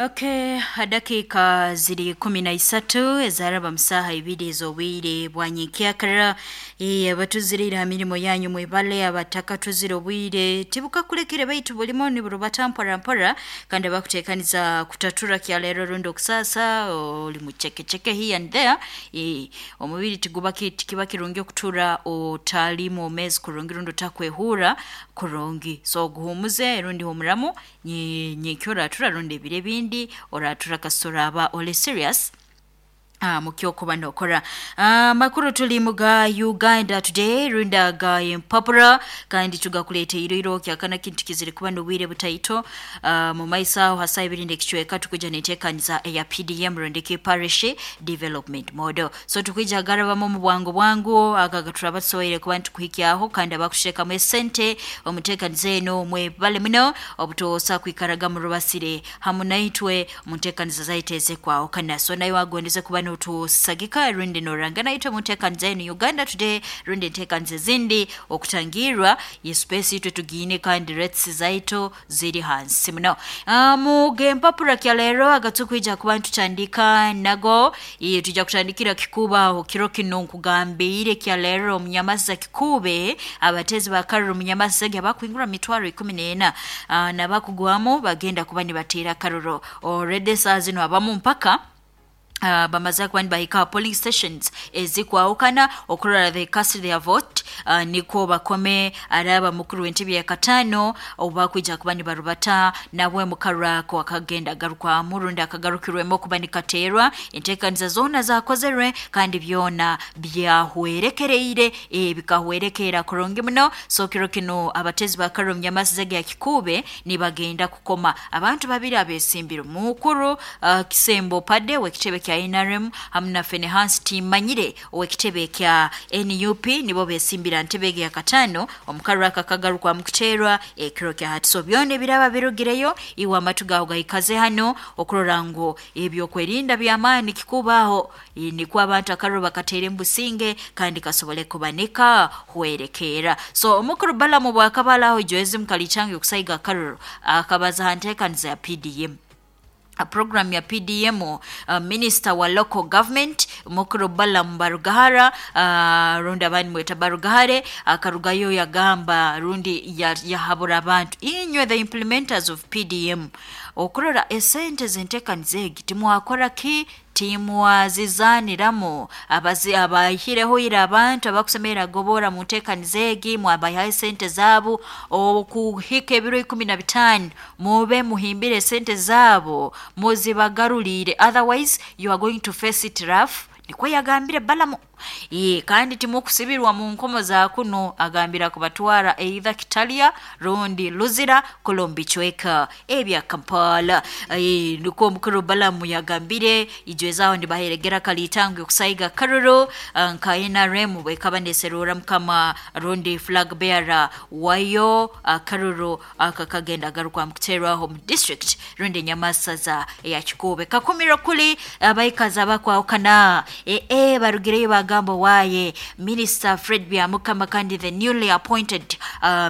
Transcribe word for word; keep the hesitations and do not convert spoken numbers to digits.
Okay, dakika ziri kumi na isatu ezaraba musaha ibiri ez'obwire bwa nyenkyakara. Eh, abatuziriire ha mirimo yanyu mwebale, abatakatuzire obwire tibukakulekere baitu bulimo niburubata mpora mpora, kandi abakuteekaniza kutatura kyaleero rundi okusasa oli mucekeceke here and there. Eh, omubiri tiguba ki- tikiba kirungi okutura otali mwomeezi kurungi rundi otakwehurra kurungi, so guhumuze rundi humuramu nyi- nyenkya oratura rundi ebiro ebindi oratura kasita oraaba oli serious uh, mukyokuba nokora. Amakuru uh, tuli muga Uganda Today rundi aga empapura, kandi tugakuleteire iro kyakana kintu kizire kuba n'obwire butaito. uh, mu maiso aho hasa ibiri n'ekicweka tukuja neteekaniza eya P D M rundi ki Parish Development Model, so tukwija garabamu mu bwangu bwangu aga gaturaba tusoboire kuba nitukuhikyaho. Kandi abakushekamu esente omuteekaniza eno, mwebale muno obutoosa kwikaraga murubasire hamu naitwe mu nteekaniza zaitu ezekwahukana. So nawe wagondeze kuba notusagika rundi noranga naitwe mu nteekaniza eno Uganda Today rundi enteekaniza ezindi okutangirwa ye space itwe tugiine, kandi rates zaitu ziri hansi muno. uh, mu gempapura kya leero agatukwija kuba ntutandika nago, eh, tujja kutandikira kikubaho kiro kino nkugambiire kya leero omunyamasa Kikuube, abatezi bakaruru munyamasa abakwingura mitwaro ikumi n'ena uh, nabakugwamu bagenda kuba nibateera karuro already saa zino, abamu mpaka Uh, bamaze kuba nibahika polling stations ezikwahukana okurora they cast their vote, uh, nikwo bakome araba mukuru w'entebe ya katano obu bakwija kuba nibarubata nabwe mukarako akagenda garukwamu rundi akagarukirwemu okuba nikateerwa. Enteekaniza zoona zakozerwe kandi byona byahwerekereire, eh, bikahwerekera kurungi muno. So kiro kino abatezi bakaruru munyamasiza ya Kikuube nibagenda kukoma abantu babiri abesimbire, mukuru uh, Kisembo Pade w'ekitebe kya N R M hamu na Fenehans Timanyire ow'ekitebe kya N U P, nibo besimbira ntebe ya katano omukaruru aka kagarukwa mukuteerwa ekiro kya hati. So byona ebiraba birugireyo, iwe amatu gawe gaikaze hano okurora ngu ebyokwerinda by'amaani kikubaho, eh, nikwo abantu akaruru bakateera embusinge kandi kasobole kuba nikahwerekeera. So omukuru Balamu bwakabalaho ijoezi mukalicange okusaiga akaruru, akabaza ha nteekaniza ya P D M, program ya P D M. uh, minister wa local government mukuru Balaam Barugahara, uh, rundi abandi mweta Barugahare, akarugayo yagamba rundi yahabura abantu, inywe the implementers of P D M, okurora esente zentekaniza egi timwakora ki, timwazizaniramu abazi abahireho ira abantu abakusemera gobora mu ntekaniza egi, mwabahaye esente zaabo okuhika ebiro ikumi na bitaano, mube muhimbire esente zaabo muzibagarulire, otherwise you are going to face it rough, nikwo yagambire Balamu. Ye, kandi timukusibirwa mu nkomo za kuno, agambira kubatwara either Kitalya rundi Luzira kolombicweka ebya Kampala. E, nukwo omukuru Balamu yagambire ijwezaho nibaheregera kalitango okusaiga karuro nka N R M bwekaba neserura mukama rundi flag bearer wayo. Akaruro aka kagenda garukwa mukuterwaho mu district rundi nyamasaza ya Kikuube. Kakumiro kuli abaikazi abakwahukana e, e, barugireyo bagamba waye Minister Fred Byamukama kandi the newly appointed uh,